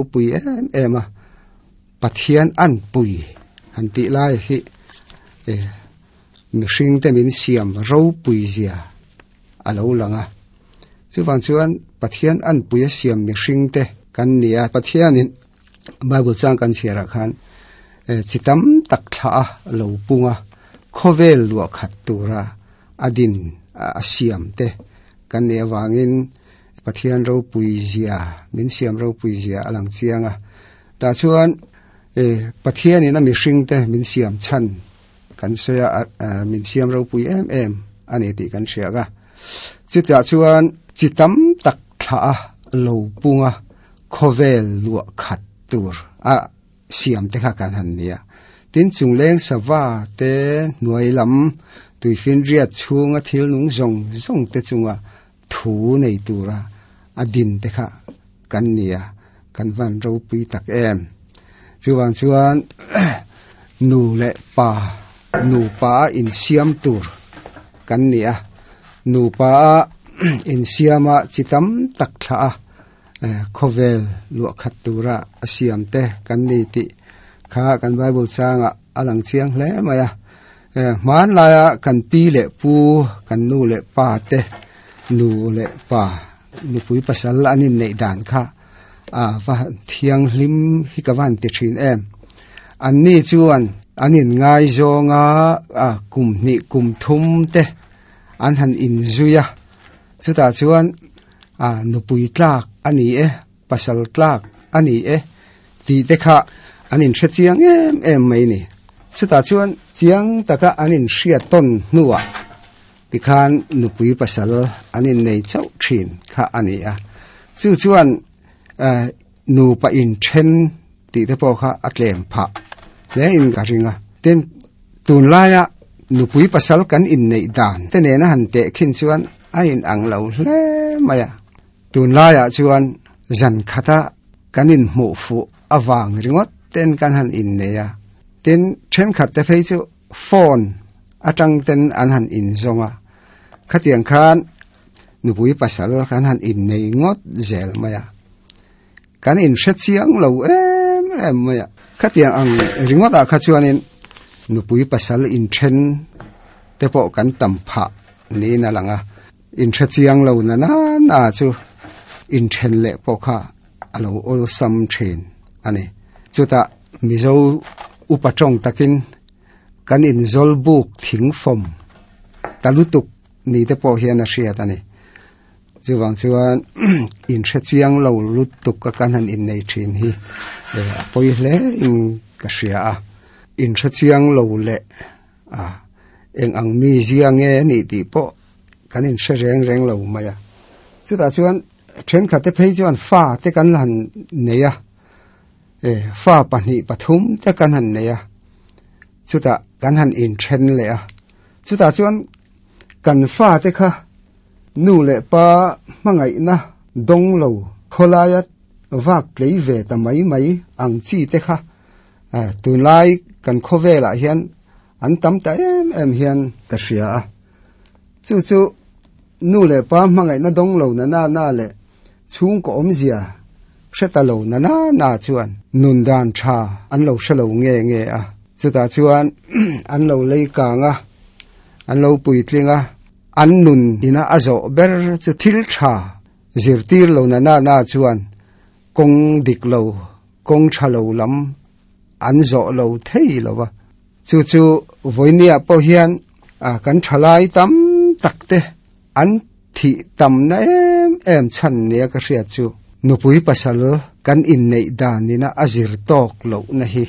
Pui em em a, Pathian an pui han tih lai hi mihring te min siam ropui zia a lo lang a. Chuvang chuan Pathian an pui a siam mihring te kan ni a, Pathianin Bible chang kan chhiarah khan chi tam tak thlah a lo pung a, khawvel luah khat tura a din a siam te kan nih avangin Pathian ropui zia, min siam ropui zia a lang chiang a. Tah chuan Pathianin a mihring te min siam chhan kan sawi a, min siam ropui em em a ni tih kan hria a. Chutah chuan chi tam tak thlah a lo pung a, khawvel luah khat tur a siam te kha kan han ni a. Tin, chungleng sava te hnuai lam tuifinriat chhunga thil nung zawng zawng te chunga thu nei tura a din te kha kan ni a, kan van ropui tak em. Chuvang chuan nu leh pa, nupa a insiam tur kan ni a, nupa a insiama chi tam tak thlah a, khawvel luah khat tura a siam te kan ni tih kha kan Bible changah a lang chiang hle mai a. Hmanlaia kan pi leh pu, kan nu leh pa te, nu leh pa nupui pasal an inneih dan kha a va thianghlim hi ka va han ti thin em. Anni chuan an inngaizawng a, kum hnih kum thum te an han inzui a, chutah chuan nupui tlak a ni e, pasal tlak a ni e tih te kha an inhre chiang em em mai ni. Chutah chuan chiang taka an inhriat tawn hnuah tikhan nupui pasal an innei chauh thin kha a ni a. Chu chuan nupa inthen tih te pawh kha a tlem phah hle in ka ring a. Tin, tunlaia nupui pasal kan inneih dan te nena han teh khin chuan a inang lo hle mai a. Tunlaiah chuan zan khata kan inhmuh fuh avang ringawt ten kan han innei a, tin thenkhat te phei chu phone atang ten an han inzawng a, khatiang khan nupui pasal kan han innei ngawt zel mai a, kan inhre chiang lo em em mai a, khatiang ang ringawtah kha chuanin nupui pasal inthen te pawh kan tam phah niin a lang a. Inhre chiang lo na na na chu inthen leh pawh kha a lo awlsam thin a ni. Chutah Mizo upa tawng takin kan inzawl buk thing fawm ta lutuk ni te pawh hian a hriat a ni. Chuvang chuan inhre chiang lo lutuk a kan han innei thin hi a pawi hle in ka hria a. Inhre chiang lo leh A, eng ang mi zia nge a nih tih pawh kan inhre reng reng lo mai a. Chutah chuan thenkhat te phei chuan fa te kan han nei a, e, fa pahnih pathum te kan han nei a, chutah kan han inthen leh a. Chutah chuan kan fa te kha nu leh pa hmangaihna dawng lo khawlaia vak tlei ve ta mai mai ang chi te kha Tunlai kan khawvelah hian an tam ta em em hian ka hria a. Chu chu nu leh pa hmangaihna dawng lo na na na leh chhungkaw awmzia hre ta lo na na na chuan nun dan tha an lo hre lo nge nge a. Chutah chuan an lo lei kang a, an lo puitling a, an nun ina a zawh ber chu thil tha zirtir lo na na na chuan kawng dik lo kawng tha lo lam an zawh lo thei lo va. Chu chu vawinia pawh hian kan thalai tam tak te an thih tamna em em chhan nia ka hriat chu nupui pasal kan inneih danina a zir tawk lohna hi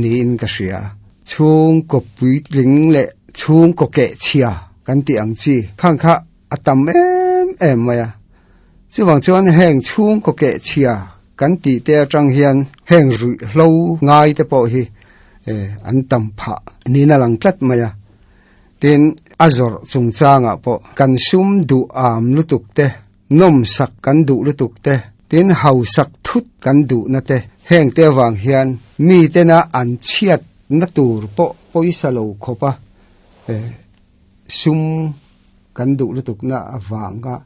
niin ka hria. Chhungkaw puitling leh chhungkaw kehchhia kan tih ang chi khang kha a tam em em mai a. Chuvang chuan heng chhungkaw kehchhia kan tih te atang hian heng ruihhlo ngai te pawh hi an tam phah niin a lang tlat mai a. Tin, a zawrh chungchangah pawh kan sum duh am lutuk te, nawmsak kan duh lutuk te, tin hausak thut kan duhna te, heng te avang hian mitena an chhiatna tur pawh pawisa lo khawp a sum kan duh lutukna avanga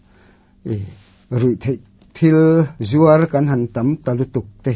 ruih theih thil zuar kan han tam ta lutuk te hi.